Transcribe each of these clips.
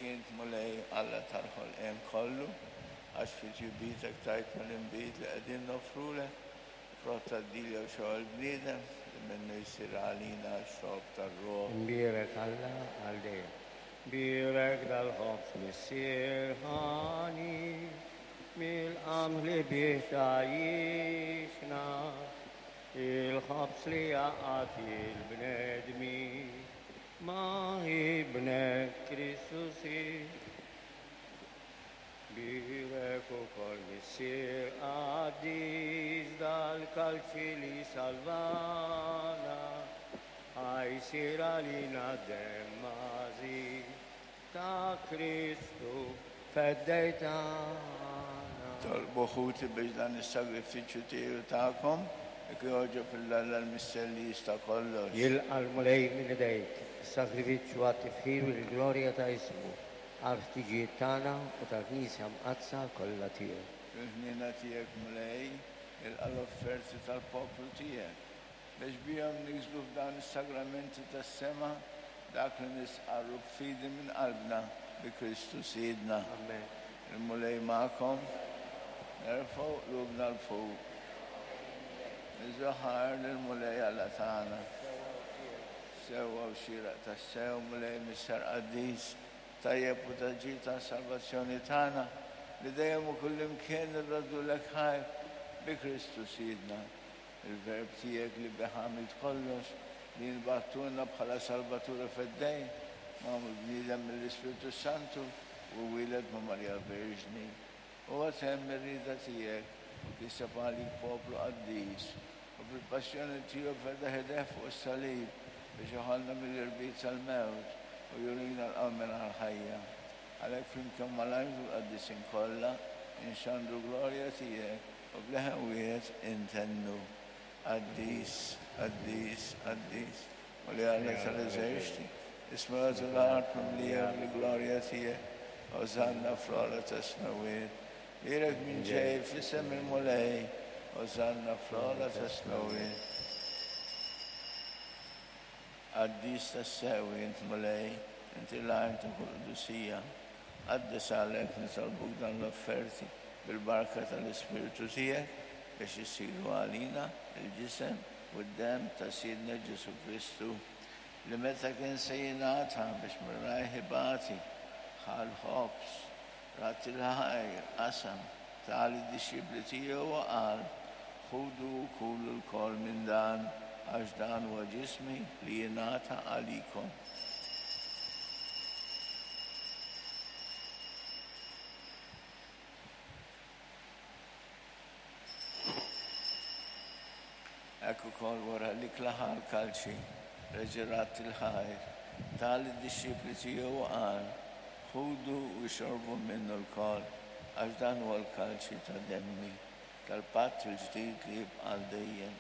Imbierek int, Mulej, Alla tal-ħolqien kollu, għax fi tjubitek tajtna l-inbid li qegħdin noffrulek, frott tad-dilja u xogħol il-bniedem, li minnu jsir għalina x-xorb tar-ruħ. Imbierek Alla għal dejjem. Bierek dal-ħobż Missier ħani, mill-qamħ li bih tgħajjixna, il-ħobż li jgħaqqad il-bnedmin ma' Ibnek Kristu Sid. Bierek ukoll Missier qaddis dal-kalċi li salvana, ħa jsir għalina d-demm għażiż ta' Kristu Feddej tagħna. Tolbu ħuti biex dan is-sagrifiċċju tiegħi u tagħkom ikun jogħġob lil Alla l-Missier li jista' kollox. Jilqa' l-Mulej minn idejk is-sagrifiċċju għat-tifħir u l-glorja ta' ismu, għall-ħtiġijiet tagħna u tal-Knisja Mqaddsa kollha tiegħu. Fil-ħniena tiegħek, Mulej, ilqa' l-offerti tal-poplu tiegħek, biex bihom niksbu f'dawn is-sagramenti tas-sema dak li nistqarru b'fidi minn qalbna bi Kristu Sidna. Amen. Il-Mulej magħkom. Nerfgħu qlubna 'l fuq. Niżżu ħajr lill-Mulej Alla tagħna. Sewwa u xieraq tassew, Mulej Missier Qaddis, tajjeb u ta' ġid għas-salvazzjoni tagħna, li dejjem u kullimkien irroddulek ħajr bi Kristu Sidna. Il-Verb tiegħek li bih għamilt kollox, li int bgħattulna bħala Salvatur u Feddej, magħmul bniedem mill-Ispirtu s-Santu u wieled ma' Marija Verġni. Huwa temm ir-rieda tiegħek u kiseb għalik poplu qaddis, u fil-passjoni tiegħu fetaħ idejh fuq is-salib biex jeħolna mill-irbit tal-mewt u jurina l-qawmien għall-ħajja. Għalhekk flimkien mal-anġli u l-qaddisin kollha inxandru glorja tiegħek U b'leħen wieħed intennu, Qaddis, qaddis, qaddis, Mulej Alla tal-eżerċti, is-smewwiet u l-art mimlija bil-glorja tiegħek. Osanna fl-ogħla tas-smewwiet. Bierek min ġej f'isem il-Mulej, Osanna fl-ogħla tas-smewwiet. Qaddis tassew int, Mulej, inti l-għajn ta' kull qdusija. Qaddes għalhekk nitolbuk dawn l-offerti bil-barka tal-Ispirtu tiegħek biex isiru għalina l-ġisem u d-demm ta' Sidna Ġesù Kristu, li meta kien se jingħata biex minn rajh ibati, ħa l-ħobż, radd il-ħajr, qasam, ta lid-dixxipli tiegħu u qal, Ħudu u kulu lkoll minn dan, għax dan huwa ġismi li jingħata għalikom. Hekk ukoll wara li klaħa l-kalċi, reġa' radd il-ħajr, ta lid-dixxipli tiegħu u qal, Ħudu u ixorbu minnu lkoll, għax dan huwa l-kalċi ta' demmi, tal-patt il-ġdid li jibqa' għal dejjem,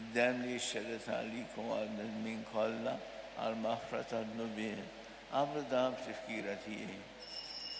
id-demm li jixxered għalikom u għall-bnedmin kollha għall-maħfra tad-dnubiet. Agħmlu dan b'tifkira tiegħi.